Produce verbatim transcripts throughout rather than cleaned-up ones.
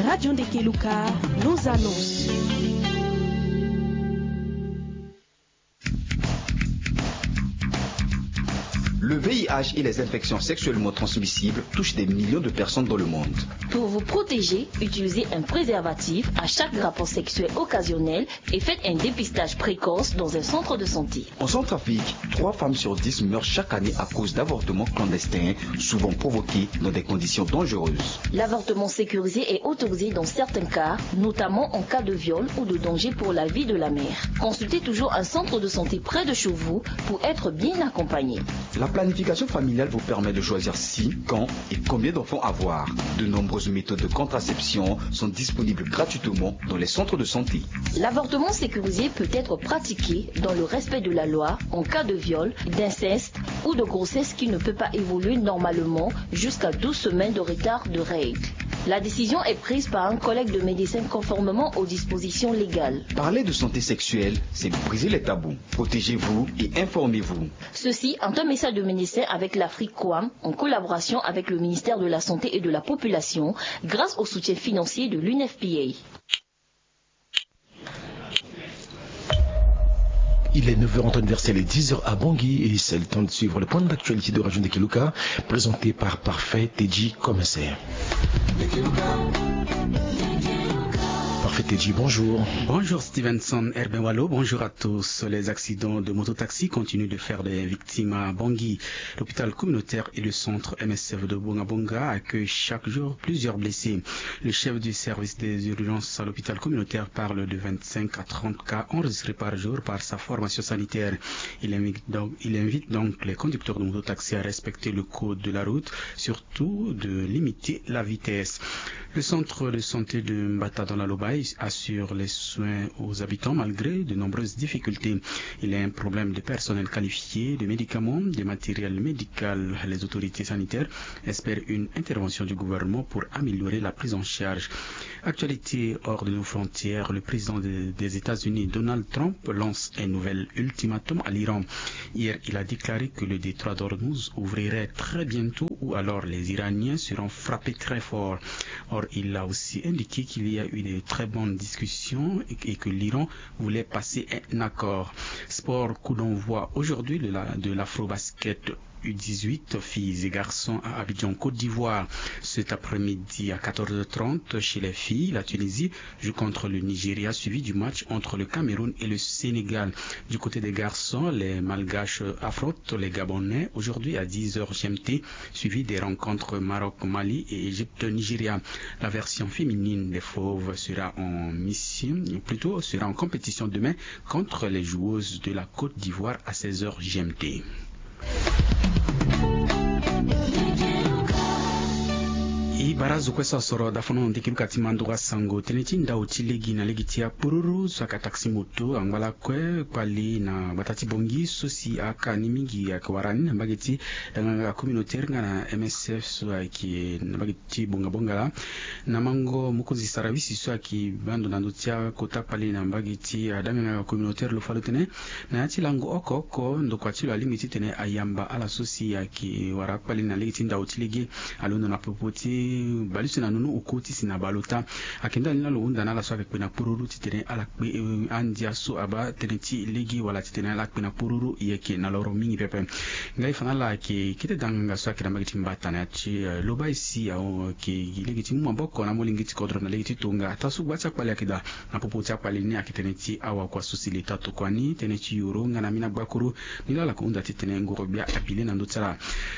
Radio Ndekeluka, nos annonces. Le V I H et les infections sexuellement transmissibles touchent des millions de personnes dans le monde. Pour vous protéger, utilisez un préservatif à chaque rapport sexuel occasionnel et faites un dépistage précoce dans un centre de santé. En Centrafrique, trois femmes sur dix meurent chaque année à cause d'avortements clandestins, souvent provoqués dans des conditions dangereuses. L'avortement sécurisé est autorisé dans certains cas, notamment en cas de viol ou de danger pour la vie de la mère. Consultez toujours un centre de santé près de chez vous pour être bien accompagné. La planification familiale vous permet de choisir si, quand et combien d'enfants avoir. De nombreuses méthodes de contraception sont disponibles gratuitement dans les centres de santé. L'avortement sécurisé peut être pratiqué dans le respect de la loi en cas de viol, d'inceste ou de grossesse qui ne peut pas évoluer normalement jusqu'à douze semaines de retard de règles. La décision est prise par un collègue de médecins conformément aux dispositions légales. Parler de santé sexuelle, c'est briser les tabous. Protégez-vous et informez-vous. Ceci est un message de médecins avec l'Afrique Coam en collaboration avec le ministère de la Santé et de la Population grâce au soutien financier de l'U N F P A. Il est neuf heures en temps universel et dix heures à Bangui et c'est le temps de suivre le point d'actualité de Radio Ndekeluka présenté par Parfait Teddy Commissaire. Parfait Teddy, bonjour. Bonjour Stevenson Herbin Wallo, bonjour à tous. Les accidents de mototaxi continuent de faire des victimes à Bangui. L'hôpital communautaire et le centre M S F de Bongabonga accueillent chaque jour plusieurs blessés. Le chef du service des urgences à l'hôpital communautaire parle de vingt-cinq à trente cas enregistrés par jour par sa formation sanitaire. Il invite donc, il invite donc les conducteurs de mototaxi à respecter le code de la route, surtout de limiter la vitesse. Le centre de santé de Mbata dans la Lobaye assure les soins aux habitants malgré de nombreuses difficultés. Il y a un problème de personnel qualifié, de médicaments, de matériel médical. Les autorités sanitaires espèrent une intervention du gouvernement pour améliorer la prise en charge. Actualité hors de nos frontières, le président de- des États-Unis, Donald Trump, lance un nouvel ultimatum à l'Iran. Hier, il a déclaré que le détroit d'Ormuz ouvrirait très bientôt ou alors les Iraniens seront frappés très fort. Or, il a aussi indiqué qu'il y a eu de très bonnes discussions et, et que l'Iran voulait passer un accord. Sport, coup d'envoi aujourd'hui de la, de l'Afrobasket U dix-huit, filles et garçons à Abidjan, Côte d'Ivoire. Cet après-midi à quatorze heures trente, chez les filles, la Tunisie joue contre le Nigeria, suivi du match entre le Cameroun et le Sénégal. Du côté des garçons, les Malgaches affrontent les Gabonais aujourd'hui à dix heures G M T, suivi des rencontres Maroc-Mali et Égypte-Nigeria. La version féminine des Fauves sera en mission, plutôt sera en compétition demain contre les joueuses de la Côte d'Ivoire à seize heures G M T. E bara azo kue so asoro dafono ndeke luka ti mandoro asango tënë ti ndau ti lege na lege ti apururu so ayeke taxi moto angba lakue kpali na gbata ti Bangui so si aka ni mingi ayeke wara ni na mbage ti danganga communautaire nga na M S F so ayeke na mbage ti bongabonga laa. Na mango mokonzi Sarawisi so ayeke baa ndo na ndö ti akota kpali na mbage ti adanganga communautaire lo fa lo tene na ya ti lango oko oko ndokua ti lo alingbi titene ayamba ala so si ayeke wara akpali na lege ti ndau ti lege alondo na popo ti baleuse na nunu oko ti si na baleota. Ayeke ndali ni laa lo hunda na ala so ayeke kpe na pururu titene ala kpe andia so abaa tënë ti lege wala titene ala kpe na pururu e yeke na loro mingi pepe. Ngai fa na ala ayeke kete danganga so ayeke na mbage ti Mbata na ya ti Lobaye si ayeke lege ti mu maboko na amolenge ti kodro na lege ti tonga ataa so gba ti akpali ayeke daa. Na popo ti akpali ni ayeke tënë ti awakua so si leta tokua ni tënë ti yoro nga na ambeni agbakuru. Ni laa ala yeke hunda titene ngoro gbia abi le na ndö ti ala.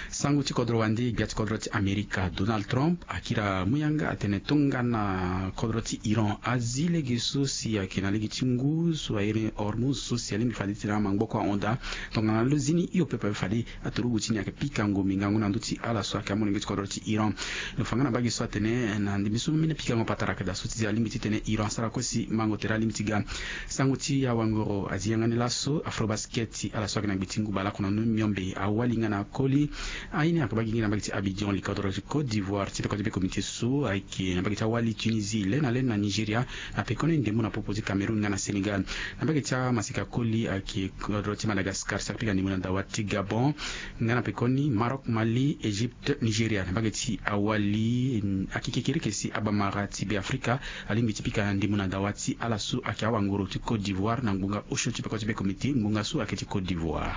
Sango ti kodro wande gbia ti kodro ti Amerika Donald Trump akiri amu yanga atene tongana kodro ti Iran azi lege so si ayeke na lege ti ngu so airi Hormuz so si alingbi fade titene amangboko ahon daa. Tongana lo zi ni hio pepe fade aturugu ti ni ayeke pikango mingango na ndö ti ala so ayeke amolenge ti kodro ti Iran. Lo fa nga na mbage so atene na ndembe so mbeni pikango patara ayeke daa so ti alingbi titene Iran asara kue si mango tere alingbi ti ga. Sango ti awangoro azi yanga ni laso Afrobasket ti ala so ayeke na gbe ti ngu baleoko na ndö miombe awali nga na akoli. Aye ni ayeke baa gi gi na mbage ti Abidjan likodro ti Côte d'Ivoire ti tokua Be comité so ayeke na mbage ti awali Tunisie, le na le na Nigeria, na pekoni ndembo na popo ti Cameroun nga na Sénégal. Na mbage ti amaseka koli ayeke kodro ti Madagascar, sara pika ndembo na dawa ti Gabon, nga na pekoni Maroc, Mali, Égypte, Nigeria. Na mbage ti awali, mm, ayeke kekereke si abamara ti Beafrika alingbi ti pika ndembo na dawa ti ala so ayeke awangoro ti Côte d'Ivoire na ngbonga osio ti peko ti be comité, ngbonga so ayeke ti Côte d'Ivoire.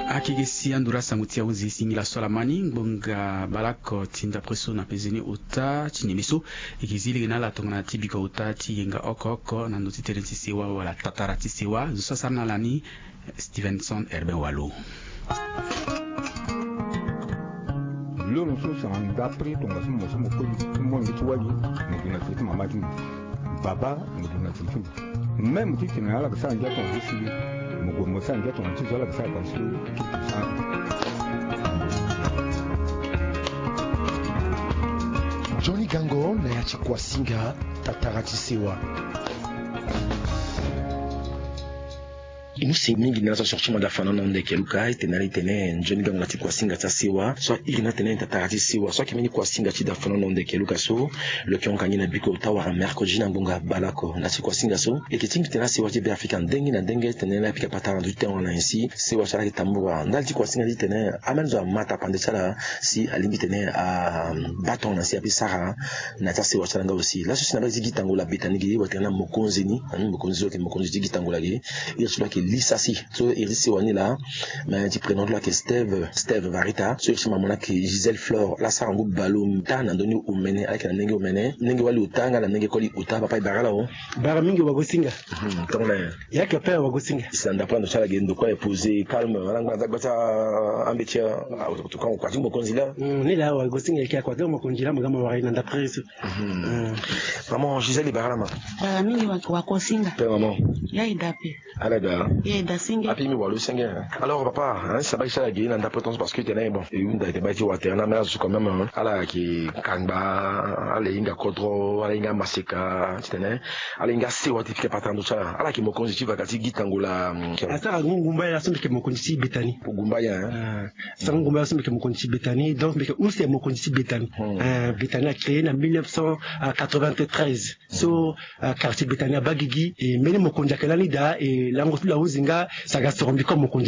Akeke si andura sango ti ahunzi singila so ala ma ni ngbonga balako ti ndapre so na pezeni ota ti neme so. E yeke zi lege na ala tongana ti biko ota ti yenga oko oko na ndo ti tënë ti sewa wala tatara ti sewa zo so asara na ala ni. Stevenson Herbin Walo. Loro so sara ndapre tongaso mo so mo koli ti mo ngi ti wali, mo gue na tere ti mama ti mo. Baba mo gue na tere ti mo. Même ti tene ala ga sara ngia tongana ti sili, mo gue mo sara ngia tongana ti zo ala ga sara tongana ti sili. Johnny Gango na ya ti Kuasinga, tatara ti sewa. E mu si mingi na ala so asoro ti mo daa fana na hunda eke luka, e tene ala e tene nzoni gango na ti kuasinga ti asewa so a iri ni atene tatara ti sewa so ayeke mbeni kuasinga ti daa fana na hunda eke luka so. Lo yeke hon ka ngi na biko ota wara mercredi na ngbonga baleoko na ti kuasinga so. E yeke tingbi tene asewa ti Beafrika ndenge na ndenge, tene ala pika patara na ndö ti tene wala na nyen si sewa so ala yeke tambula ndali ti kuasinga ti tene ameni zo ama tapande ti ala si alingbi tene abaa tongana si ape sara na ya ti asewa ti ala nga aussi. Laso si na mbage ti gi tango la Betani gi watene na mokonzi ni, ani mokonzi so ayeke mokonzi ti gi tango la gi. Iri ti lo ayeke Lisa si so iri ti sewa ni la. Me ti prénom ti lo ayeke Steve, Steve Varita. So iri ti mama ni ayeke Gisèle Flore. Ala sara ngu baleota na ndö ni omene, ala yeke na ndenge omene, ndenge wali ota nga na ndenge koli ota. Papa e bara ala o. Bara mingi wagosinga. Mhm, tongana nyen? Ya yeke pere wagosinga. Si na ndapre ando ti ala ge ndokua e posé calme, ala ngba na ndagba ti ambeti. Kua ti mokonzi la. Mm, ni la wagosinga yeke akua ti mokonzi la mo ga mo wara ye na ndapre so. Mhm. Mm. Maman Gisèle e bara ala ma. Bara mingi wa, wagosinga. Pe maman. Ya e da pe. Ala da. Ya e da senge. Ape mi walo senge. Alors papa, hein, si na mbage ti ala ge na ndapre tongaso parce que tene bon, e hunda ete mbage ti watene na mena zo quand même, hein. Ala yeke kangba, ala hinga kodro, ala hinga maseka, titene ala hinga sewa ti pika patara ndo ti ala. Ala yeke mokonzi ti vaka ti gi tango la, mm, asara ngu ngumba ye la so mbi yeke mokonzi ti Betani. Ngumba ye, hein? Ah, asara ngu ngumba ye la so mbi yeke mokonzi ti Betani. Donc mbi yeke use mokonzi ti Betani. Hmm. Ah, Betani a créé na mille neuf cent quatre-vingt-treize. So, ah, quartier Betani abaa gigi, e mbeni mokonzi ayeke lani daa, e lango ti lo ahunzi nga, si aga soro mbi comme mokonzi na